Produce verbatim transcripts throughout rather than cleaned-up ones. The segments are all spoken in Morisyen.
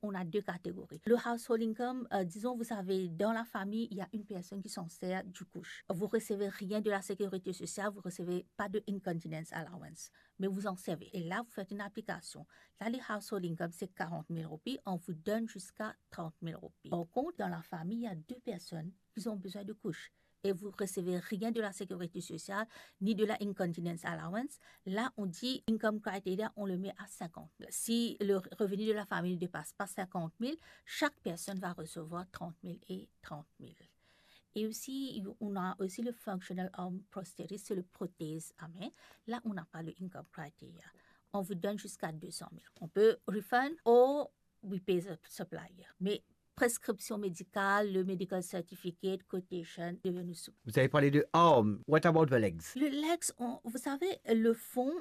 on a deux catégories. Le household income, euh, disons, vous avez dans la famille, il y a une personne qui s'en sert du couche. Vous recevez rien de la sécurité sociale, vous recevez pas de incontinence allowance, mais vous en servez. Et là, vous faites une application. Là, le household income, c'est quarante mille roupies, on vous donne jusqu'à trente mille roupies. Par contre, dans la famille, il y a deux personnes qui ont besoin de couches et vous recevez rien de la sécurité sociale ni de la incontinence allowance, là, on dit income criteria, on le met à cinquante mille. Si le revenu de la famille ne dépasse pas cinquante mille, chaque personne va recevoir trente mille et trente mille. Et aussi, on a aussi le functional arm prosthesis, c'est le prothèse à main. Là, on n'a pas le income criteria. On vous donne jusqu'à deux cent mille. On peut refund ou we pay the supplier. Mais prescription médicale, le medical certificate, quotation, devait nous soumettre. Vous avez parlé de arm. What about the legs? Le legs, on- vous savez, le fonds,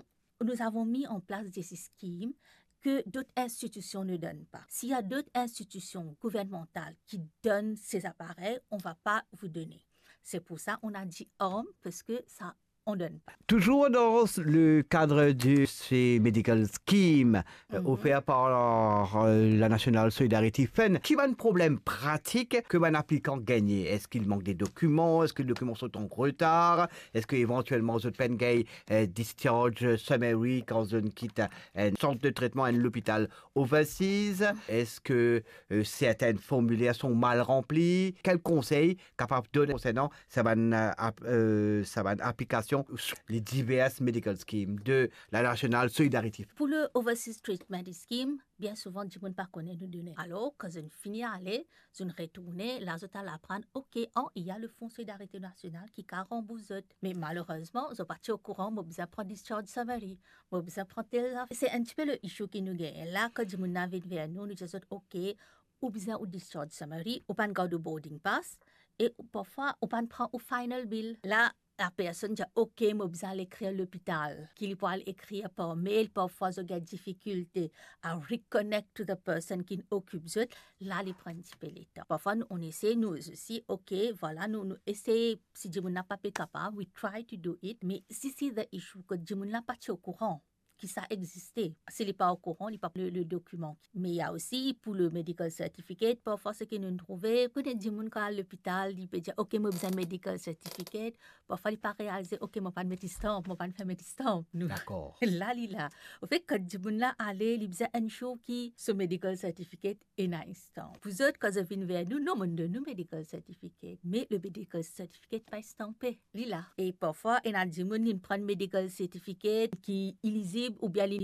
nous avons mis en place des schèmes que d'autres institutions ne donnent pas. S'il y a d'autres institutions gouvernementales qui donnent ces appareils, on va pas vous donner. C'est pour ça on a dit arm, parce que ça, on donne pas. Toujours dans le cadre de ces medical schemes, euh, Mhm. offerts par, euh, la National Solidarity Fund, ki bann problem pratik ke bann aplikan gagne? Est-ce qu'il manque des documents? Est-ce que les documents sont en retard? Est-ce que éventuellement zot pa'nn gagn, euh, discharge summary kan zot kit, euh, un centre de traitement, un hôpital overseas? Est-ce que, euh, certains formulaires sont mal remplis? Quel conseil capable donner concernant sa bann, euh, ap-, euh, sa bann aplikasion, les diverses medical schemes de la National Solidarity? Pour le Overseas Treatment Scheme, bien souvent, dimoun pa kone nou done. Alors, kan zot fini ale, zot retourne, la zot al aprann, ok, an, il y a le Fonds Solidarité Nationale ki ka ranbours zot. Me malerezman, zot pa ti okouran, mo bizin pran discharge summary, mo bizin pran tel zafer. Se enn tipe le issue ki nou gagne. La, kan dimoun la vinn ver nou, nou dir zot, ok, ou bizin ou discharge summary, ou pa'nn gard ou boarding pass, e ou, parfwa, ou pa'nn pran ou final bill. La, la personn dir, ok, mo bizin al ekrir lopital, ki li pou al ekrir par mail, parfwa zot gagn difikilte a reconnect to the person ki'nn okip zot, la li pran enn tipe letan. Parfwa nou, on essaie, nou osi, ok, vwala, nou, nou essaie, si dimoun la pa pe kapav, we try to do it, me si se the issue, ke dimoun la pa ti okouran ki sa existe. Si li pa okouran, li pa le, le dokiman. Me il y a aussi pour le medical certificate, parfwa seki nou trouve, kone dimoun kan al lopital, li pe dir, ok, mo bizin medical certificate. Parfwa li pa realize, ok, mo pa'nn met stamp, mo pa'nn fer met stamp. Nou Dakor. La li la. Anfet, kan dimoun la ale, li bizin ensure ki so medical certificate ena enn stamp. Pou zot, kan zot vinn ver nou, non, monn donn nou medical certificate. Me le medical certificate pa stanpe. Li la. E parfwa, ena dimoun, li pran medical certificate ki ilizib, oubien li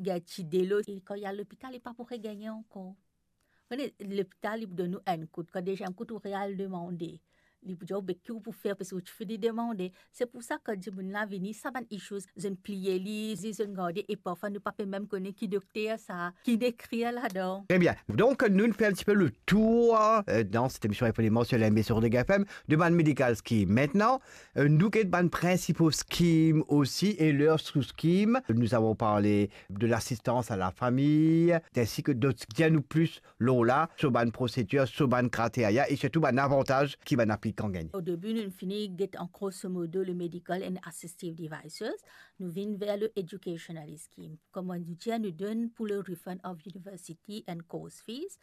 gagn ti delo, e kan li al lopital, li pa pou regagne ankor. Kone, lopital, li pou donn ou enn kout. Kan deziem kout, ou real demande. Li pou dir ou, be ki ou pou fer, paski ou ti fini demande. Se pou sa, kan dimoun la vini, sa bann issues, zot pliye li, zot gade, e parfwa nou pa pe mem kone ki dokter sa, ki ekrir ladan. Très bien. Donc, nous, nous faisons un petit peu le tour, euh, dans cette émission Infolement sur la M B C Rodrigues F M, de bann medical scheme. Maintenant, euh, nou get bann principal scheme aussi et leurs sous-schemes. Nous avons parlé de l'assistance à la famille, ainsi que d'autres. Dis-nous plus lor la, so bann prosedir, so bann kriteria e sirtou bann avantaz ki bann aplikan gagn. Au début, nou fini get en grosso modo le medical and assistive devices. Nou vinn ver le educational scheme. Kouma nou dir, nou donn pou le refund of university and course fees.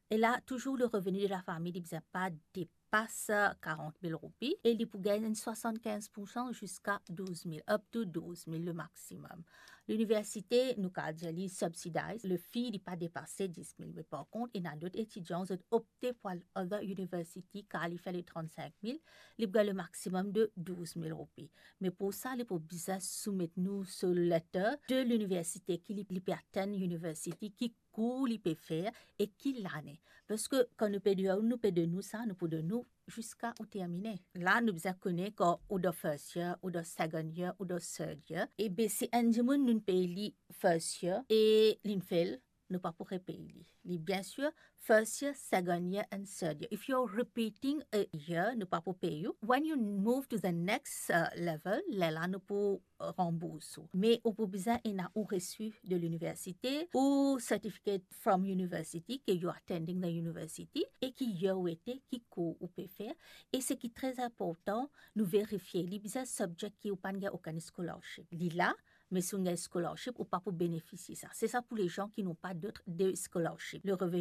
E la, touzour le revenu de la fami, li bizin pa depas quarante mille roupies e li pou gagn swasann-kinz pour san ziska douz mil, up to douz mil le maximum. Liniversite, nou kapav dir li subsidized, le fee li pa depase dis mil. Me par kont, ena dot etidian, zot opte pou al other university, kar li fer le trant-sink mil, li pou gagn le maximum de douz mil roupies. Me pou sa, li pou bizin soumet nou so letter de liniversite ki li, li pe attend university, ki kour li pe fer e ki lane. Paski kan nou pe dir ou, nou pe donn ou sa, nou pou donn ou ziska ou termine. La, nou bizin kone kan ou dan first year, ou dan second year, ou dan third year. E be si enn dimoun nou pey li first year e linn fail, nou pa pou repey li. Li bien sir, first year, second year and third year. If you're repeating a year, nou pa pou pey ou. When you move to the next, uh, level, lerla nou pou ranbours ou. Me ou pou bizin ena ou resi de liniversite, ou certificate from university, ke you attending the university, e ki year ou ete, ki kour ou pe fer. E seki tre inportan, nou verifie, li bizin subject ki ou pa'nn gagn okenn scholarship. Li la, me si ou gagn scholarship, ou pa pou benefisie sa. Se sa pou les gens qui n'ont pas d'autres, de scholarship. Le revenu